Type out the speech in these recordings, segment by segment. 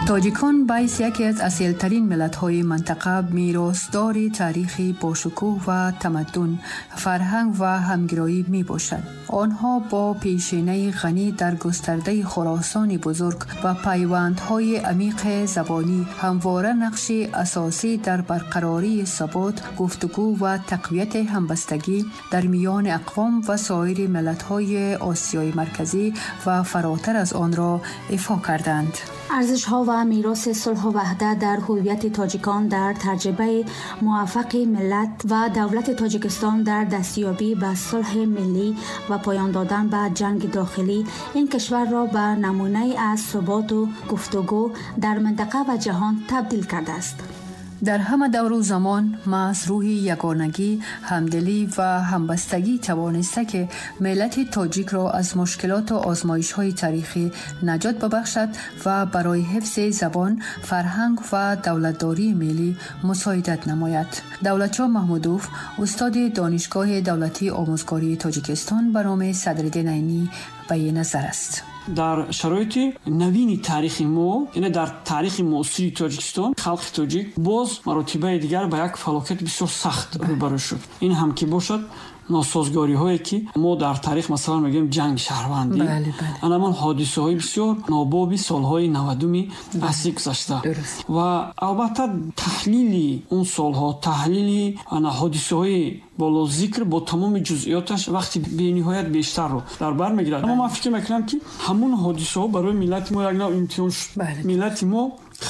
Тоҷикон баҳайс яке аз асилтарин миллатҳои минтақа, меросдори таърихи бошукӯҳ ва тамаддун, фарҳанг ва ҳамгироӣ мебошад. Онҳо бо пешинаи ғанӣ дар густардаи Хуросони бузург ва пайвандҳои амиқи забонӣ ҳамвора нақши асосӣ дар барқарории субот, гуфтугӯ ва тақвияти ҳамбастагӣ дар миёни ақвом ва соири миллатҳои Осиёи Марказӣ ва фаротар аз онро ифо карданд. Арзишҳо ва мероси сулҳу ваҳдат дар ҳувияти тоҷикон дар таҷрибаи муваффақи миллат ва давлати Тоҷикистон дар дастёбӣ ба сулҳи миллӣ ва поён додан ба ҷанги дохилӣ ин кишварро ба намунае аз суботу гуфтугӯ дар минтақа ва ҷаҳон табдил кардааст. Дар ҳама давру замон маҳз рӯҳи ягонагӣ, ҳамдилӣ ва ҳамбастагӣ тавониста, ки миллати тоҷикро аз мушкилоту озмоишҳои таърихӣ наҷот бибахшад ва барои ҳифзи забон, фарҳанг ва давлатдории миллӣ мусоидат намояд. Давлатшоҳ Маҳмудов, устоди Донишгоҳи давлатии омӯзгории Тоҷикистон ба номи Садриддин Айнӣ, ба ин назар аст. Дар шароити навини таърихи мо, яъне дар таърихи муосири Тоҷикистон, халқи тоҷик боз маротибаи дигар ба як фалокати бисёр сахт рӯбарӯ шуд. Ин ҳам ки бошад носозгориҳое, ки мо дар таърих, масалан, мегӯем ҷанги шаҳрвандӣ, анамон ҳодисаҳои бисёр нобоби солҳои 90-уми асри гузашта. Ва албатта таҳлили он солҳо, таҳлили ана ҳодисаҳои болозикр бо тамоми ҷузъиёташ вақти бениҳоят бештарро дар бар мегирад. Аммо ман фикр мекунам, ки ҳамун ҳодисаҳо барои миллати мо як нав имтиҳон шуд. Миллати мо,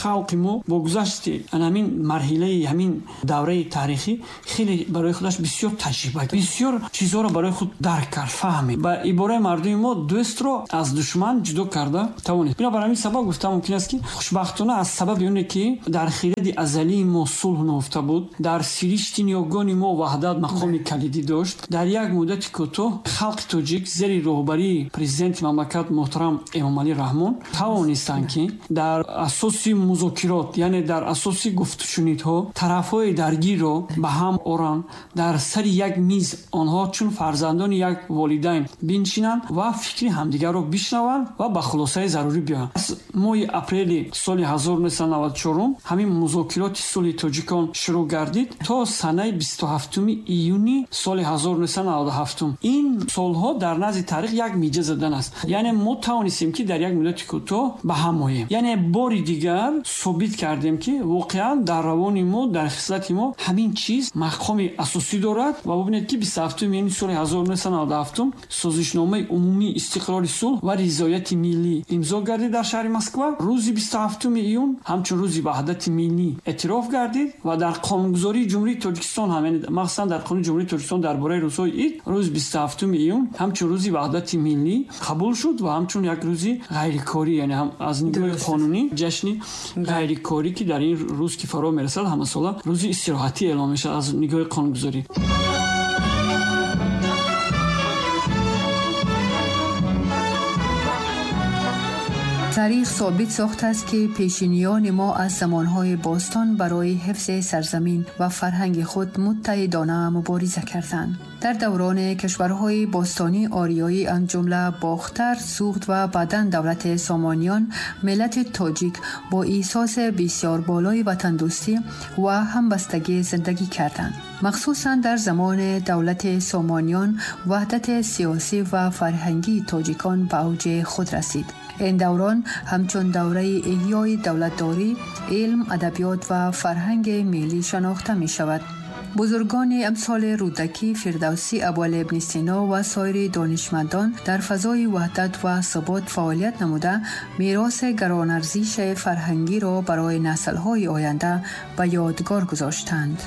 халқи мо бо гузашти ҳамин марҳилаи ҳамин давраи таърихӣ хеле барои худаш бисёр таҷриба, бисёр чизҳоро барои худ дарк кард, фаҳмид. Ба ибораи мардуми мо, дӯстро аз душман ҷудо карда тавонист. Бинобар ҳамин сабаб гуфта мумкин аст, ки хушбахтона аз сабаби оне, ки дар хиради азалии мо сулҳ нуҳуфта буд, дар сиришти ниёгони мо ваҳдат мақоми калидӣ дошт, дар як муддати кӯтоҳ халқи тоҷик зери роҳбарии президенти мамлакат муҳтарам Эмомалӣ Раҳмон тавонистанд, ки дар асоси музокирот, яъне дар асоси гуфтушунидҳо, тарафҳои даргирро ба ҳам оранд, дар сари як миз онҳо чун фарзандони як волидайн биншинанд ва фикри ҳамдигарро бишнаванд ва ба хулосаи зарурӣ биёянд. Аз моҳи апрели соли 1994 ҳамин музокироти сулҳи тоҷикон шурӯъ гардид то санаи 27 июни соли 1997. Ин солҳо дар назди таърих як миҷа задан аст, яъне мо тавонистем, ки дар як муддати кӯтоҳ ба ҳам оем, яъне бори дигар собит кардем, ки воқеан дар равони мо, дар хислати мо ҳамин чиз мақоми асосӣ дорад. Ва бубинед, ки 27 июни соли 1997 созишномаи умумии истиқрори сулҳ ва ризояти миллӣ имзо гардид дар шаҳри Москва. Рӯзи 27 июн ҳамчун рӯзи ваҳдати миллӣ эътироф гардид ва дар қонунгузории Ҷумҳурии Тоҷикистон ҳам, яъне махсусан дар қонуни Ҷумҳурии Тоҷикистон дар бораи рӯзҳои ид, рӯзи 27 июн ҳамчун рӯзи ваҳдати миллӣ қабул шуд ва ҳамчун як рӯзи ғайрикорӣ, яъне ҳам аз нигоҳи қонунӣ ҷашни ғайрикорӣ, ки дар ин рӯз, ки фаро мерасад, ҳамасола рӯзи истироҳатӣ эълон мешавад аз нигоҳи қонунгузорӣ. Таърих собит сохтааст, ки пешиниёни мо аз замонҳои бостон барои ҳифзи сарзамин ва фарҳанги худ муттаҳидона мубориза карданд. Дар даврони кишварҳои бостонии ориёӣ, аз ҷумла Бохтар, Суғд ва баъдан давлати Сомониён, миллати тоҷик бо эҳсоси бисёр болои ватандӯстӣ ва ҳамбастагӣ зиндагӣ карданд. Махсусан дар замони давлати Сомониён ваҳдати сиёсӣ ва фарҳангии тоҷикон ба авҷи худ расид. Ин даврон ҳамчун давраи эҳёи давлатдорӣ, илм, адабиёт ва фарҳанги миллӣ шинохта мешавад. Бузургони амсоли Рӯдакӣ, Фирдавсӣ, Абуалӣ ибни Сино ва соири донишмандон дар фазои ваҳдат ва субот фаъолият намуда, мероси гаронарзиши фарҳангиро барои наслҳои оянда ба ёдгор гузоштанд.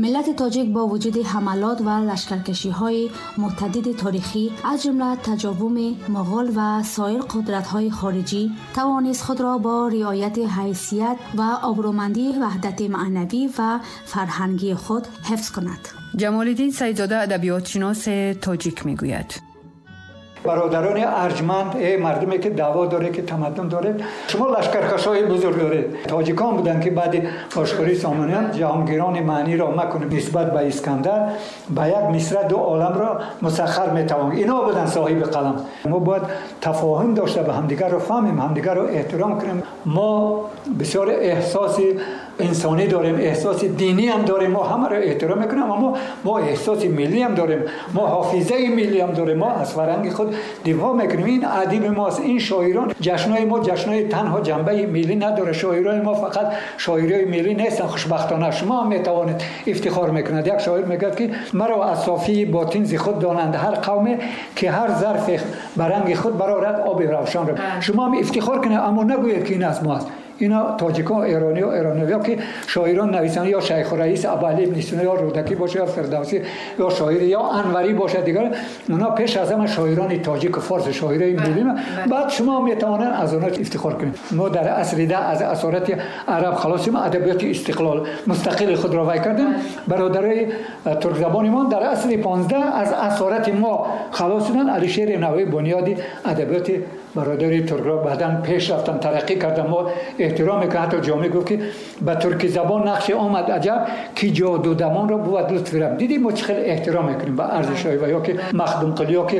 Миллати тоҷик бо вуҷуди ҳамалот ва лашкаркашиҳои мутаддиди таърихӣ, аз ҷумла таҷовуми муғул ва соир қудратҳои хориҷӣ, тавонист худро бо риояти ҳайсият ва обрӯмандии ваҳдати маънавӣ ва фарҳангии худ ҳифз кунад. Ҷамолиддин Саидзода, адабиётшиноси тоҷик, мегӯяд: Бародарони арҷманд, эй мардуме ки даъво доред, ки тамаддун доред, шумо лашкаркашои бузург доред. Тоҷикон буданд ки баъди ошкории Сомониён ҷаҳонгирони маъниро макунем нисбат ба Искандар, ба як мисра ду оламро мусаххар метавон. Ино буданд соҳиби қалам. Мо бояд тафоҳум дошта ба ҳамдигарро фаҳмем, ҳамдигарро эҳтиром кунем. Мо бисёр эҳсоси инсонӣ дорем, эҳсоси динӣ ҳам дорем, мо ҳамаро эҳтиром мекунем, аммо мо эҳсоси миллӣ ҳам дорем, мо ҳофизаи миллӣ ҳам дорем, мо аз фарҳанги худ дифоъ мекунем. Ин адиби мост, ин шоирон, ҷашнҳои мо ҷашнҳои танҳо ҷанбаи миллӣ надорад. Шоирони мо фақат шоирои миллӣ нестанд, хушбахтона шумо ҳам метавонед ифтихор мекунад. Як шоир мегӯяд ки маро аз софии ботин зи худ донанд ҳар қавме ки ҳар зарфе ба ранги худ барорад оби равшанро. Шумо ҳам ифтихор кунед, аммо нагӯед ки ин аз мост. Ино тоҷикон, эрониё, эрониё ки шоирон нависанд, ё Шайх Раис Абуалӣ ибни Сино, ё Рӯдакӣ бошад, ё Фирдавсӣ, ё шоир, ё Анварӣ бошад, дигар онҳо пеш аз ҳама шоирони тоҷик ва форс, шоирони миллӣ. Баъд шумо метавонед аз онҳо ифтихор кунед. Мо дар асри 10 аз асорати араб халосим, адабиёти истиқлол мустақили худро вай кардем. Бародарои туркзабони мо дар асри 15 аз асорати мо халос шуданд. Алишери Навоӣ бунёди адабиёти бародари туркро баъдан пеш рафтан, тараққӣ кардан. Мо эҳтиром мекунем. Ҳатто Ҷомӣ гуфт ки ба турки забон нақши омад аҷаб, ки ҷодудамонро бувад лутфи раб. Дидем мо чӣ хеле эҳтиром мекунем ба арзишҳои ва ё ки Махдумқулӣ, ё ки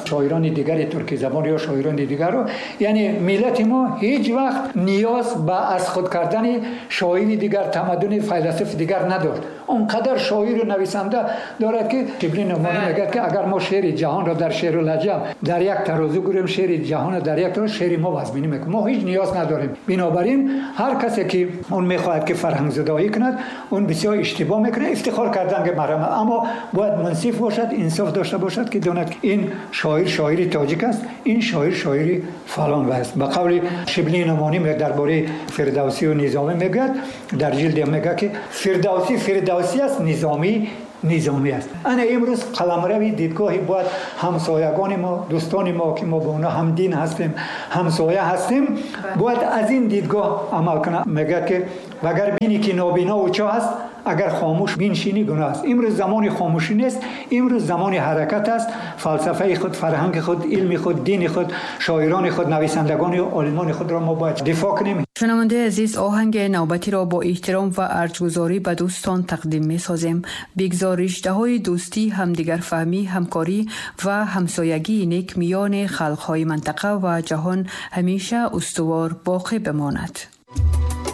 шоирони дигари турки забон ё шоирони дигарро. Яъне миллати мо ҳеҷ вақт ниёз ба аз худ кардани шоири дигар, тамаддуни файласуфи дигар надошт. Он қадар шоиру нависанда дорад ки Шиблӣ Нӯъмонӣ мегӯяд ки агар мо шеъри ҷаҳонро дар шеъру лаҳҷа дар як тарозу гӯрем, шеъри ҷаҳонро дар як тарозу, шеъри мо вазминӣ мекунад. Мо ҳеҷ ниёз надорем. Бинобар ин ҳар касе ки он мехоҳад ки фарҳангзудоӣ кунад, он бисёр иштибоҳ мекунад. Ифтихор кардан ки маҳрам, аммо бояд мунсиф бошад, инсоф дошта бошад ки донад ки ин шоир шоири тоҷик аст, ин шоир шоири фалон аст. Ба қавли Шиблӣ Нӯъмонӣ дар бораи Фирдавсӣ ва Низомӣ мегӯяд, дар ҷилде мегӯяд ки Фирдавсӣ Фирдавсӣ аст, Низомӣ Низомӣ аст. Ана имрӯз қаламрави дидгоҳи бояд ҳамсоягони мо, дӯстони мо ки мо бо онҳо ҳамдин ҳастем, ҳамсоя ҳастем, бояд аз ин дидгоҳ амал кунад. Мегӯяд ки агар бинӣ ки нобино ва чоҳ аст, агар хомӯш биншинӣ гуноҳ аст. Имрӯз замони хомӯшӣ нест, имрӯз замони ҳаракат аст. Фалсафаи худ, фарҳанги худ, илми худ, дини худ, шоирони худ, нависандагони олимони худро мо бояд дифоъ кунем. Шунавандаи азиз, оҳанги навбатиро бо эҳтиром ва арҷгузорӣ ба дӯстон тақдим месозем. Бигзор риштаҳои дӯстӣ, ҳамдигарфаҳмӣ, ҳамкорӣ ва ҳамсоягии нек миёни халқҳои мантақа ва ҷаҳон ҳамеша устувор боқӣ бимонад.